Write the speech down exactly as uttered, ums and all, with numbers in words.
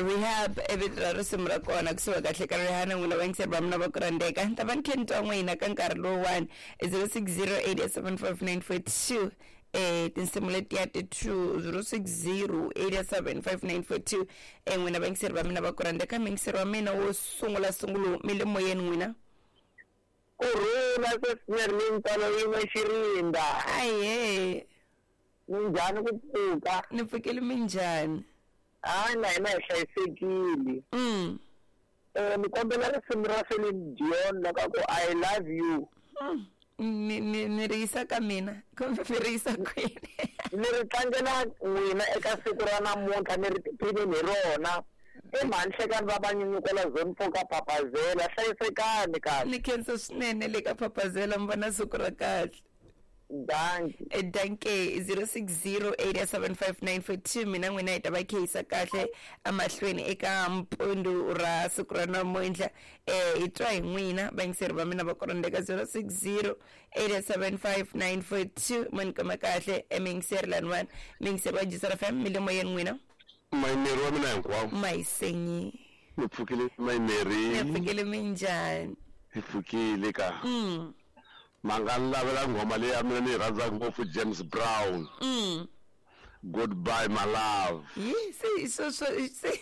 Rehab i vito ra risimu ra kona kusuka kahle ka Rihanna. N'wina vayingiseri va mina va ku rhandzeka, ni ta va ni khe ni twa n'wina ka nkarhi lowuwani zero six zero eight seven five nine four two. Eh tinsimu letiya ti two, zero six zero eight seven five nine four two. Eh n'wina vayingiseri va mina va ku rhandzeka, muyingiseri wa mina wo sungula sungulo, mi le moyeni n'wina. Kurhula sweswinyana, mintswalo yin'we xirinda. Ahe. Minjhani ku pfuka? Ni pfukile, minjhani? Hayi, na hina hi hlayisekile. Mm. Eh ni kombela risimu ra Celine Dion loko ku "I Love You". Mm. ni ni ni ri yisa ka mina kumbe mi ri yisa kwini? Ni ri tlangela n'wina eka siku ra namuntlha, ni ri tiphinini hi rona. I mhani Hlekani va vanyunyukela zone four ka Papazela. Hlayisekani kahle. Ni khensa swinene le ka Papazela, mi vona siku ra kahle. Danki. Danke. Zero six zero eight seven five nine four two. Mina n'wina hi ta va kheyisa kahle emahlweni eka mpundu ra siku ra namuntlha. um hi twa hi n'wina vayingiseri va mina va ku rhandzeka. Zero six zero eight seven five nine four two. Mo ni kuma kahle emiyingiseri laniwani, miyingiseri wa Jisara F M, mi le moyeni n'wina. Mayimeri wa mina hinkwawo. Mayisenyi. Mi pfukile mayimeri? Ni pfukile, minjhani? Hi pfukile ka. Mm. Ma nga ni lavela nghoma leyi ya mina ni yi rhandzaka ngopfu, James Brown, Mm. "Goodbye My Love". Yi se sweswo se.